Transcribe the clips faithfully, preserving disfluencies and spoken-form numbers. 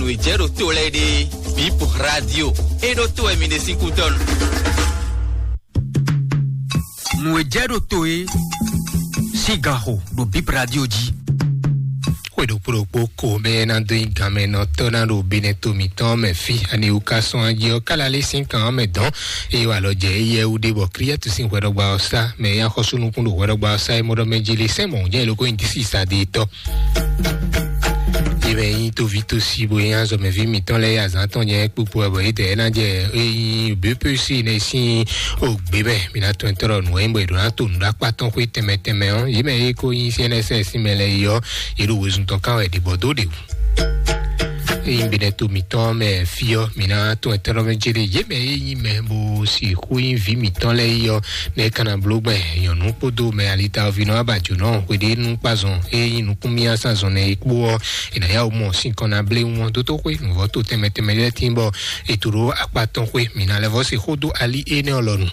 Nǔ e jɛ ɖo to lɛ́ɛ ɖe, Bip Radio, é ɖó to wɛ mi ɖe sín kútɔ́nu. Nǔ e jɛ ɖo to é sín ganxo ɖo Bip Radio jí. Xwe ɖokpó ɖokpó ko mɛ ná dó nyi ganmɛnɔtɔ́ ná ɖo Benɛto mǐtɔn mɛ fí, ani wú ka sɔn ají ɔ́, kála lé sín kan ɔ́ mɛ dɔn, eye wà lɔ jɛ éyɛ́ wú ɖé bɔ Klíɛtu sín hwɛɖɔgba ɔ́ sá, mɛ e nyí axɔ́súnukún ɖo hwɛɖɔgba ɔ́ sá é mɔ ɖɔ mɛ jí lé sɛ́n mɔ̌ jɛ lóko nyi dísí sa ɖe tɔ́. Yě mɛ nyí tovítɔ́sí bó nyí azɔ̌mɛví mǐtɔn lɛ́ɛ yí azǎn tɔn nyɛ kpukpu wɛ bɔ yě dɛ ná jɛ é nyí B P C nɛ sín ògbé mɛ. Mǐ ná tɔn tɔ́ nǔ e nyí bɔ è ɖǒ ná to nǔɖaxó atɔn xwé tɛnmɛ tɛnmɛ ɔ́, yě mɛ e ko nyí C N S S mɛ lɛ́ɛ yi ɔ́, yě ɖo wezun tɔn kán wɛ ɖě bɔ dó ɖě wú. Ényí Benɛto mǐtɔn mɛ fí ɔ́, mǐ ná tɔn tɔ́ mɛ jɛ ɖe yě mɛ e nyí mɛ bó sixú nyí vǐ mǐtɔn lɛ́ɛ yi ɔ́, nɛ́ ka ná bló gbɛn nyɔ̌nu kpódó mɛ alitaví nɔ abajǒnɔ hweɖénu kpazɔn e nyí nukúnmíyásánzɔn nɛ é kpó ɔ́, è nǎ yá wǔ mɔ sín kɔn ná blé wɔn dótó xwé nǔvɔ́ to tɛnmɛ tɛnmɛ lɛ́ɛ tín bɔ è to ɖó akpá tɔn xwé mǐ ná lɛ́ vɔ́ se xó dó alí énɛ́ ɔ́ lɔnu.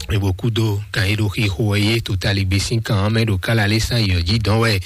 Ebo kúdó kan e ɖo xixo wɛ yé totaligbé sín kan ɔ́ mɛ ɖo kála lé sán yɔ̌ jí dɔn wɛ.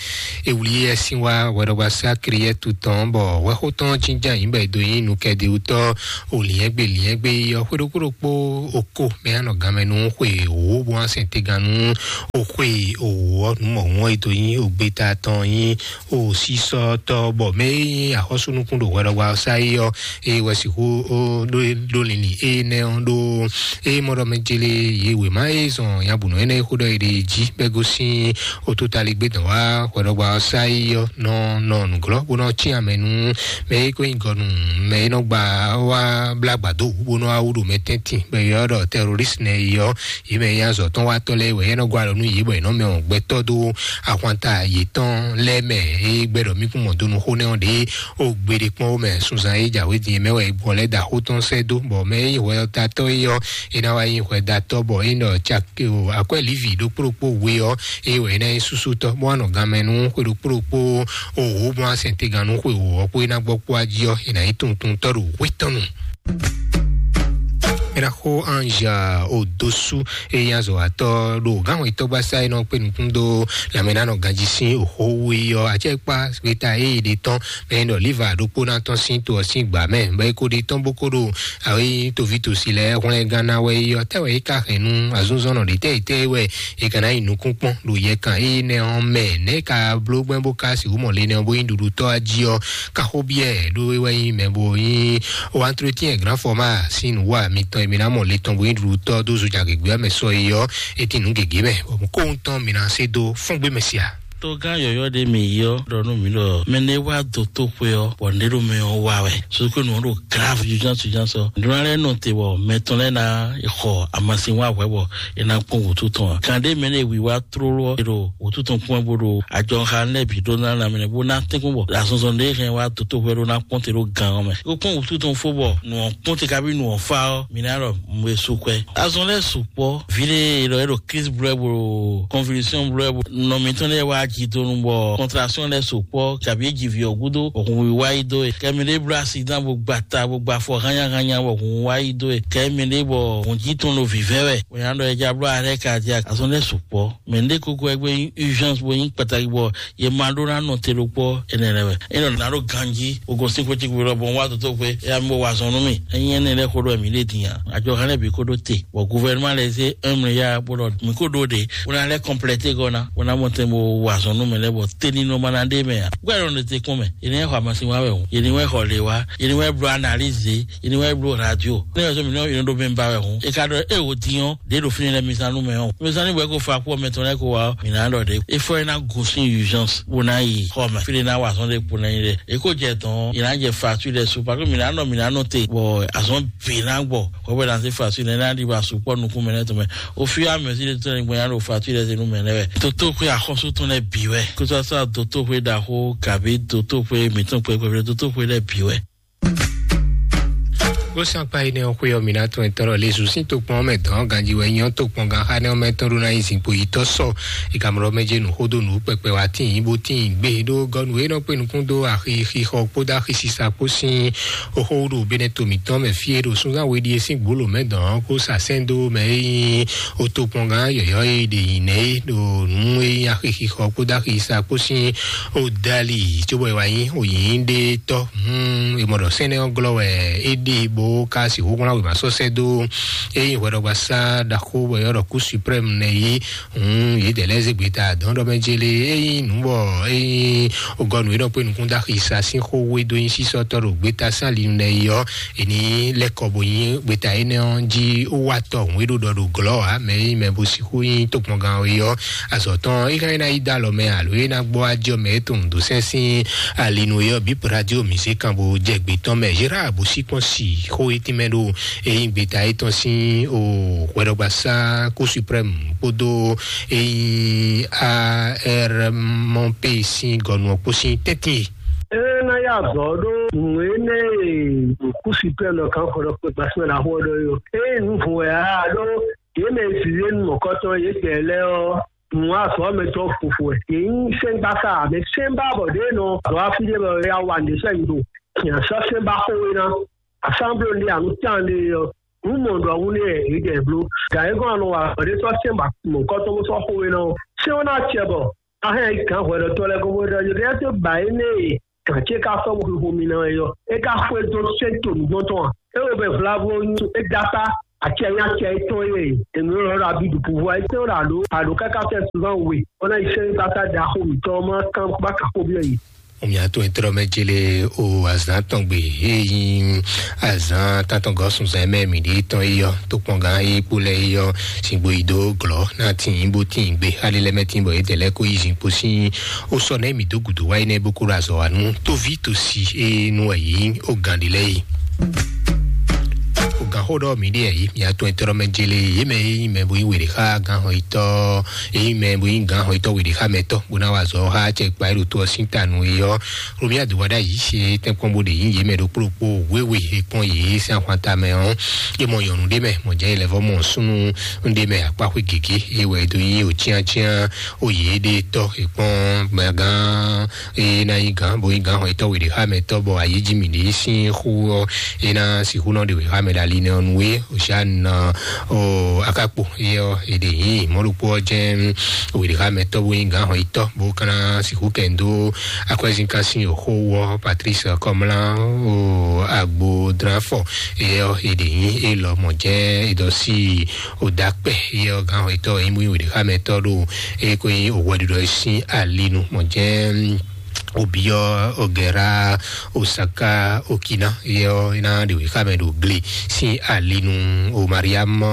E wlí yɛ sín wá hwɛɖɔgba sá Kliyɛ́tu tɔn bɔ hwɛxó tɔn jínjɔ́n ayǐ bɔ è dó nyí nukɛ́díwútɔ́ o lǐnyɛ́gbe lǐnyɛ́gbe yi ɔ́ xwé ɖokpó ɖokpó oko mɛ anɔ ganmɛ nú xwe wǒ bó wá sɛn tégannú o xwe wǒ ɔ́ nú mɔ̌hun ɔ́ e dó nyí ogbeta tɔn nyí o sísɔ́tɔ́ bɔ mɛ e nyí axɔ́súnukún ɖo hwɛɖɔgba ɔ́ sá é ɔ́, eye wɛ sixú ɖó linlin énɛ́ ɔ́ ɖó. Eye mɔ ɖɔ mɛ jele yě wěma e zɔn nyabǔnɔ énɛ́ e xó ɖɔ è ɖe jí bɔ é gosín ototaligbé dɔn wá hwɛɖɔgba ɔ́ sá é ɔ́ nɔ nɔ nǔglɔ́ bó nɔ cyán mɛ nú mɛ e ko nyí gɔnu mɛ e nɔ gba wá blá gbǎdó wú bó nɔ wá wú ɖo mɛ tɛ́ntin bɔ è ylɔ́ ɖɔ tɛrorísi nɛ́ é ɔ́, yě mɛ e nyí azɔ̌tɔ́watɔ́ lɛ́ɛ wɛ é nɔ gɔ́ alɔ nú yě bɔ è nɔ mɛ ɔ́ gbɛtɔ́ dó ahwanta yětɔn lɛ́ɛ mɛ e gbɛ́ ɖɔ mí kún mɔ dó nú xó nɛ́ ɔ́ ɖě o gbeɖé kpɔ́n wó mɛ sunzan e jǎwe din mɛ wɛ gbɔ lɛ́ da xó tɔn sɛ́ dó bɔ mɛ e nyí hwɛyɔ́tatɔ́ é ɔ́, é ná wá nyí hwɛdatɔ́ bɔ é nɔ caki o akwɛ́ Livi ɖokpó ɖokpó we ɔ́, é wɛ é ná nyí súsútɔ́ bó wá nɔ ganmɛ nú xwe ɖokpó ɖokpó o wǒ bó wá sɛn tégannú xwe wǒ ɔ́ kpó é ná gbɔ kpó ají ɔ́, é ná nyí tuntuntɔ́ ɖo hwé tɔn nu. Miraxo Ange Odosu e nyí azɔ̌watɔ́ ɖo gǎnhwɛtɔ́gbasá e nɔ kpé nukún dó lanmɛnánɔ ganjí sín òxó wú é ɔ́, acɛkpá gbeta e è ɖe tɔn mɛ ɖɔ Liva ɖokpó ná tɔn sín to ɔ́ sín gbǎ mɛ, bɔ é ko ɖe tɔn bó ko ɖo awe nyí tovítɔ́sí lɛ́ɛ hwlɛngán ná wɛ é ɔ́, tɛ́ wɛ é ka hɛn nú azúnzɔ́nnɔ ɖě tɛ́ tɛ́ wɛ é ka ná yi nukún kpɔ́n ɖo yɛkan énɛ́ ɔ́ mɛ, nɛ̌ é ka bló gbɛ́ bó ka sixú mɔ le nɛ́ ɔ́ bó nyí ɖuɖutɔ́ jí ɔ́, ka xó byɔ́ ɛ ɖó é wɛ nyí mɛ bo nyí o entretien grand format sín nǔwa mitɔn e mi ná mɔ le tɔn bo nyí ɖuɖutɔ́ dó zojagěgbé ɔ́ mɛ sɔ é ɔ́, é tín nǔ gěgé mɛ, bɔ kóhun tɔn mi ná sé dó fúngbé mɛ sia. Togán yɔ̌yɔ́ ɖé mi yi ɔ́ ɖɔ nú mǐ ɖɔ mɛ ɖé wá dó tóxwé ɔ́, bɔ nǔɖé ɖo mɛ ɔ́ wa wɛ. Sókè nǔ ɔ́ ɖo grave urgence urgence ɔ́. Nǔɖé lɛ́ɛ nɔ te bɔ mɛ tɔn lɛ́ɛ ná xɔ amasin wá hwɛ̌ bɔ é ná kpɔ́n wǔtu tɔn ǎ. Kan ɖé mɛ ɖé wiwa tlóló ɔ́, è ɖo wǔtu tɔn kpɔ́n bó ɖo ajɔxa lɛ́ɛ bǐ ɖó ná lanmɛ bó ná tɛ́nkpɔ́n bɔ azɔnzɔn ɖé hɛn wá dotó hwɛ ɖó ná kpɔ́n te ɖó gan ɔ́ mɛ. É ko kpɔ́n wǔtu tɔn fó bɔ nǔ ɔ́ kpɔ́n te kabi nǔ ɔ́ fá ɔ́, mǐ ná ɖɔ mú e sú kwɛ. Azɔn lɛ́ɛ sukpɔ́, vǐ ɖé è ɖɔ é ɖo crise blɛ́ bó ɖo convulsion blɛ́ bó nɔ mǐtɔn lɛ́ɛ wá jidonu bɔ contraction lɛ́ɛ sukpɔ́ kabi é ji vǐ ɔ́ gúdo bɔ hun wá yi dó e. Kɛ mɛ ɖé bló accident bó gba ta bó gba afɔ hányáhányá bɔ hun wá yi dó e. Kɛ mɛ ɖé bɔ hun jí tɔn ɖo vǐvɛ́ wɛ. Bó nya ɖɔ é já bló arrêt cardiaque. Azɔn lɛ́ɛ sukpɔ́. Mɛ ɖé kókó wɛ gbé nyí urgence bó nyí kpataki bɔ yě ma ɖó ná nɔ te ɖokpó énɛ́ lɛ́ɛ wɛ. É nɔ ná ɖo ganjí, o gosín xwé cíkú lɔ bɔ un wá dotó xwé, é yá mi bó wa azɔn nú mì. Ényí énɛ́ lɛ́ɛ xó ɖɔ mǐ ɖe din a? Àjọ hɛn lɛ́ɛ bǐ kó ɖó te, bɔ gouvernement lɛ́ɛ zé un milliard bó ɖɔ mǐ kó ɖó ɖe, bó ná lɛ́ compléter gɔ́ ná, bó ná mɔ tɛn bó wa azɔn nú mɛ lɛ́ɛ bɔ tɛ́ ní nɔ ma ná ɖe mɛ a? Gbɛ́ nɔ ɖe te kpɔ́n mɛ, yě ní wɛ xɔ amasin wá wɛ hǔn, yě ní wɛ xɔ lě wá, yě ní wɛ bló analyse, yě ní wɛ bló radio. Ní wɛ sɔ mǐ nɔ yě nɔ ɖó mɛ ba wɛ hǔn, é ka ɖɔ é wò din ɔ́, ɖě ɖo fínɛ́ lɛ́ɛ mi zán nú mɛ ɔ́. Mi zán ní bɔ é ko fa kú ɔ́ mɛ tɔn lɛ́ɛ ko wá ɔ́, mǐ ná ɖɔ ɖě. É fɔ é ná gosín urgence bó ná yi xɔ mɛ. Fí ɖé ná wa azɔn ɖé kpo ná nyi ɖe. É ko jɛ dɔn, è nǎ jɛ facture lɛ́ɛ su, parce que mǐ ná nɔ, mǐ ná nɔ te, bɔ azɔn bǐ ná gbɔ. Hwɛ̌ bɔ è nǎ zé facture lɛ́ɛ ná ɖi ba sukpɔ́ nukún mɛ lɛ́ɛ tɔn mɛ. Au fur et à mesure de tout nya ɖo facture lɛ́ɛ zé nú mɛ lɛ́ɛ wɛ. Dotóxwé axɔ́sú tɔn lɛ́ɛ bǐ wɛ. Kó sɔ́ sɔ́ dotóxwé ɖaxó, kabi dotóxwé mǐtɔn kpɛkpɛ, dotóxwé lɛ́ɛ bǐ wɛ. Bó sán kpa yi nɛ ɔ́ xwé ɔ́, mi ná tɔn etɔ́ ɖɔ Lezu sín tokpɔn ɔ́ mɛ dɔn ganji wɛ nyí ɔ́, tokpɔn gan xá nɛ ɔ́ mɛ tɔn ɖó ná nyí zinkpo yi tɔ́ sɔ. Ìkamlɔ mɛ jɛ nǔ xó dó nǔ kpɛkpɛ wá tín yín bó tín gbé ɖó gɔ́ nǔ e nɔ kpé nukún dó axi xixɔ kpódó axi sisa kpó sín oxó ɖo bɛnɛ to mǐtɔn mɛ fí e ɖo súnzán we ɖíe sín gbolo mɛ dɔn ɔ́ kó sa sɛn dó mɛ e nyí o tokpɔn gan yɔyɔ e ɖe nyi nɛ e ɖo nǔ e nyí axi xixɔ kpódó axi sisa kpó sín o dali tso bɔ e wá nyí o nyí ɖe tɔ. Hmm, e mɔ ɖɔ sɛnɛ ɔ́ glɔ wɛ e ɖe bó ka si wó wlán wěma sɔ́ sɛ́ dó e nyí hwɛɖɔgbasá ɖaxó bɔ yɔ́ ɖɔ kú suprême nɛ yí. Hmm, yě dɛ lɛ́ zé gbeta dɔn ɖɔ mɛ jele e nyí nǔ bɔ e nyí ogɔnu e ɖɔ kpé nukún dó axi sa sín xó wé dó nyí sísɔ́tɔ́ ɖo gbeta sín ali nɛ yí ɔ́, e ní lɛ́ kɔ bó nyí gbeta énɛ́ ɔ́ jí wá tɔ hǔn e ɖo ɖɔ ɖo glɔ́ ǎ mɛ e nyí mɛ bó sixú nyí tokpɔngán ɔ́ é ɔ́. Azɔ̌ tɔn é ka ná yi dó alɔ mɛ alo é ná gbɔ ajɔ mɛ é tunwun dó sɛn sín ali nú é ɔ́ bǐ radio mǐsé kan bó jɛ gbě tɔn mɛ. Gérard bó sí kpɔ́n si xó é tínmɛ ɖo é nyí gbeta é tɔn sín o hwɛɖɔgbasá kó suprême kpódó é nyí armp sín gɔnu ɔ́ kpó sín tɛ́ntin e. É ná yá azɔ̌ ɖó nǔ énɛ́ e kú suprême nɔ kan xɔ ɖɔ kpé gbasímɛ ná xó ɔ́ ɖɔ é ɔ́. É nyí nǔ vɔn wɛ ǎ ɖó yě mɛ e zǐzé nu mɔ̌kɔtɔn yědɛɛ lɛ́ɛ ɔ́, nǔ azɔ̌ mɛ tɔn fofo wɛ. Yě nyí sɛ́ngbása mɛ sɛ́nbá bɔ ɖě nɔ azɔ̌ afí ɖé bɔ ya wa nǔɖé sɔ́ nyi ɖo. Nya sɔ́ sɛ́nbá xówé ná. Asábló ɖé anu tán ɖé ɔ́, nǔ mɔ ɖɔ wú nɛ yědɛɛ bló. Gǎn é gɔ́n anɔ wa azɔ̌ ɖé sɔ́ sɛ́nbá mɔ̌kɔtɔn bó sɔ́ xówé ná ɔ́, sɛ́n ɔ́ ná acɛ bɔ a hɛn yi gǎn hwɛɖɔtɔ́ lɛ́ɛ gɔ́n bó ɖɔ yě dɛ́ tó ba énɛ́ e gǎn ce ka sɔ́ bó xixo mi ná wɛ ɔ́, é ka xwedó sɛ́n to nǔgbɔn tɔn a? É wo bɛ vlavo nyi é dó akpá acɛ nyí acɛ étɔn e ènǔ lɔ ɖo abidu pouvoir étɔn ɖo àɖó àɖó káká fɛ souvent we bó ná yi sɛ́n gbata ɖaxó mǐtɔn ɔ́ má kán bá kà xó byɔ́ yě. Omi ato etɔ́ mɛ jele o azan tɔn gbe eyin azan tatɔn gɔ sunzan mɛ mi ɖe tɔn eyɔ tó kpɔn gan eye kpó lɛ eyɔ singbo yi do glɔ na tin bó tin gbe ali lɛ mɛ tin bɔ yedɛ lɛ ko yi zin kpo sin o sɔ nɛ mi do gudo wa yi nɛ bó kó ɖo azɔ wa nu tóvi tó si e nu wɛ yi o gan ɖi lɛ yi. O gan xó ɖɔ mi ɖe yi mi ato etɔ́ mɛ jele ye mɛ yi mɛ bo yi wele xa gan xɔ yi tɔ eyi mɛ bo yi gan xɔ yi tɔ wele xa mɛ tɔ bó ná wa zɔ xa cɛ kpa yi ɖo to ɔ sin ta nu yi ɔ. Romi adowa ɖe ayi se tɛnkpɔn bó ɖe yi ye mɛ ɖokpó ɖokpó wewe ekpɔn yi se ahwan ta mɛ ɔ. Ye mɔ yɔnu ɖe mɛ mɔ jɛ yi lɛ vɔ mɔ sunu ɖe mɛ akpa xwe gege ye wɛ do yi o tiantian o yi ɖe tɔ ekpɔn mɛ gan eye ná yi gǎn bó yi gǎn xɔ etɔ́ wěɖé xá mɛ tɔ́ bɔ ayéjì mǐ ɖé sín xú ɔ́ é ná sixú nɔ ɖe wě xá mɛ ɖo ali nɛ ɔ́ nú é òsì àná ɔ́ akákpo é ɔ́ è ɖe yǐ mɔ̌ ɖokpó ɔ́ jɛ́n wěɖé xá mɛ tɔ́ bó yi gǎn xɔ etɔ́ bó ka ná sixú kɛ dó akwɛ́zínká sín òxó wú ɔ́ Patrice Kɔmlá o agbo dlán fɔ é ɔ́ è ɖe yǐ é lɔ mɔ̌ jɛ́n é dɔ sí o da kpɛ é ɔ́ gǎn xɔ etɔ́ é mú wěɖé xá mɛ tɔ́ ɖo é kó nyí òwɛɖuɖɔ sín ali nu mɔ̌ jɛ́n obiɔ ogɛra osaka okina yɛ ɔ ina ɖewe xamɛ ɖo gle sin alinu o mariam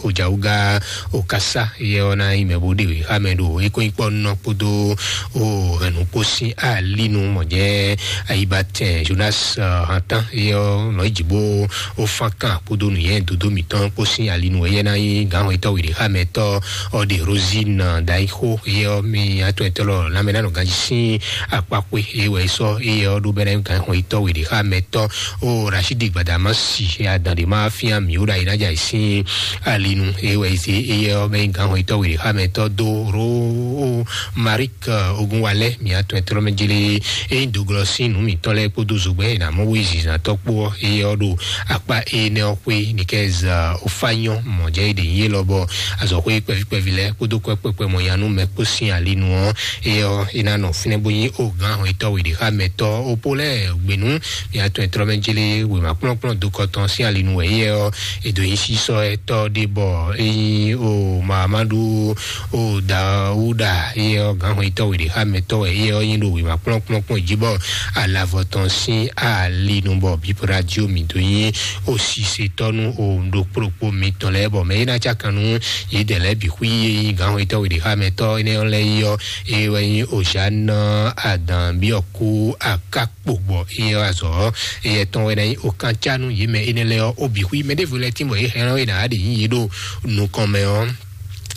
ojawuga okasa yɛ ɔ na yi mɛ bo ɖewe xamɛ ɖo ekɔnyikpɔ nɔ kpodo o hɛnukpo sin alinu mɔjɛ ayibatɛ jonas hantan yɛ ɔ nɔ yi dzi bo o fankan kpodo nuyɛ dodo mitɔn kpo sin alinu yɛ na yi gahɔn itɔ wele xamɛ tɔ ɔ ɖe rosine daixo yɛ ɔ mi atɔ etɔ lɔ lamɛ nanɔ ganji sin akpakpé eye wɛ sɔ eye ɔ ɖo bɛ na gan xɔ itɔ wele xa mɛ tɔ o rasidi gbadama si adan de ma fia mi o ɖa yi na dza sin alinu eye wɛ se eye ɔ bɛ gan xɔ itɔ wele xa mɛ tɔ do ro o marik ogun walɛ mi atɔ etɔ mɛ jele eye do glɔ sin nu mi tɔ lɛ kpodo zogbɛ na mɔ wo yi zizan tɔ kpo eye ɔ ɖo akpa ene ɔ xwe ni kɛ za o fa nyɔ mɔ jɛ yi de yi lɔ bɔ azɔ xwe kpɛvi kpɛvi lɛ kpodo kɔ kpɛkpɛ mɔ yanu mɛ kpo sin alinu ɔ eye ɔ ina nɔ finɛ bo nyi o gan hɔn itɔ wele xa mɛ tɔ o po lɛ gbenu mi atɔ etɔ mɛ jele wema kplɔn kplɔn do kɔtɔn sin alinu wɛ eye ɔ edo yi sisɔ etɔ de bɔ eyi o mamadu o dawuda eye ɔ gan hɔn itɔ wele xa mɛ tɔ wɛ eye ɔ yin do wema kplɔn kplɔn kplɔn ji bɔ alavɔ tɔn sin alinu bɔ bipo radio mi do yin o sisetɔnu o ɖokpo ɖokpo mitɔn lɛ bɔ mɛ yi na ca kan nu yi dɛ lɛ bi xwi yi gan hɔn itɔ wele xa mɛ tɔ ene ɔ lɛ yi ɔ eye wɛ yin o jan adan bi ɔ ku akakpo bɔ eye ɔ azɔ eye tɔn wɛ na yin o kan ca nu yi mɛ ene lɛ ɔ o bi xwi mɛ ɖevo lɛ tin bɔ yi hɛn ɔ yi na aɖe yin yi ɖo nukɔn mɛ ɔ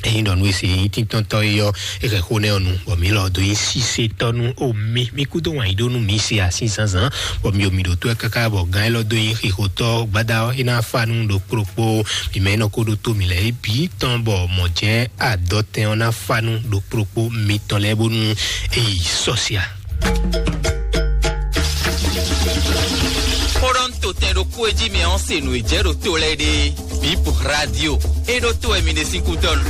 Ényí ɖɔ nú e se nyí tíntɔ́ntɔ́ é ɔ́, é hɛn xó nɛ́ ɔ́ nu, bɔ mǐ lɔ dó nyí sísetɔ́ nú omi. Mí kúdó wǎn yí ɖó nú mǐ se asín zǎnzǎn, bɔ mǐ omi ɖo tó ɛ káká bɔ gán élɔ́ dó nyí xixotɔ́ gbada ɔ́, é ná fá nú ɖokpóɖokpó. Mǐ mɛ é nɔ ko ɖó tó mǐ lɛ́ɛ é bǐ tɔn, bɔ mɔ̌ jɛ́n adɔtɛn ɔ́ ná fá nú ɖokpóɖokpó mitɔn lɛ́ɛ bónú é yi sɔ́sia. Xó ɖɔ nú to tɛn ɖokpó e jí mi ɔ́ se nǔ e jɛ ɖo to lɛ́ɛ ɖe. Bip Radio. E ɖo to wɛ mi ɖe sín kútɔ́nu.